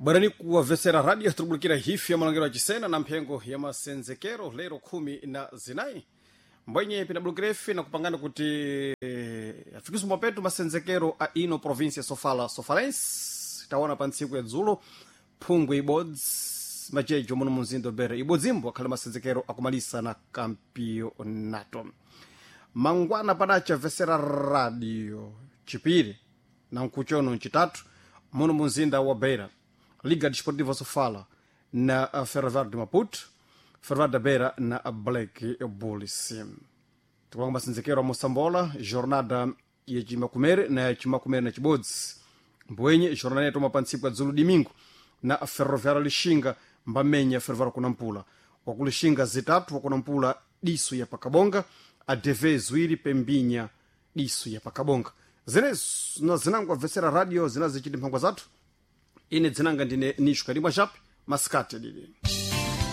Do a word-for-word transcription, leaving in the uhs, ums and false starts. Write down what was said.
Bwerani kuwavesera radio tikubulikira hifi ya malangiro ya chisena na mphengo ya masenzekero lero khumi na zinayi mbwenye pinabulukira ife na kupangana kuti eh, afikiswe mapeto masenzekero a ino província sofala sofalense taona pa ntsiku ya dzulo phungwe ibodzi majejo muno mumzinda bere ibodzimbo akhale masenzekero akumalisa na kampionato mangwana padacha vesera radio chipiri na nkuchono ncitatu muno mumzinda wa beira liga desportiva sofala na uh, ferroviário de maputo ferroviário da beira na black bulls tikulanga masenzekero a mosambola jornada yacimakumere na yacimakumere na cibodzi mbwenye jornada yatoma pa ntsiku ya dzulo domingo na ferroviário lixinga mbamenya ferroviário kunampula wakulixinga zitatu wakunampula diso ya pakabonga adv ziwiri pembinya diso ya pakabonga zinezo na zinango abvesera radio zinazichiti mphangwa zathu ine dzinanga ndine nisho kalimwa chape masikati adidi.